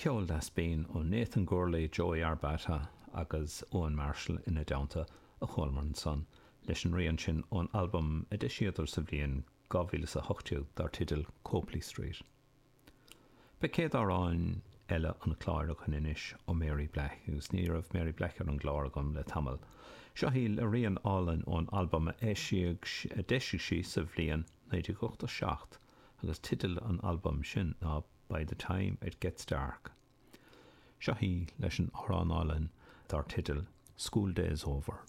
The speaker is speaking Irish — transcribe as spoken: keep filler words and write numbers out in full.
Ceol deas binn ó Nathan Gourley, Joey Arbata agus Owen Marshall ina dteannta a chualamar ansan leis an rian sin ón albam a d'eisíodar sa bhliain dhá mhíle is a hocht déag dar teideal Copley Street. Beidh céad amhrán eile an chláir againn anois ó Mary Black agus ní raibh Mary Black ar an gclár agam le tamall. Seo í le rian álainn ón albam a eisíodh a d'eisigh sí sa bhliain naoi déag ochtó seacht agus teideal an albaim sin ná By the Time It Gets Dark. Seo í leis an amhrán álainn dar teideal School Days Over.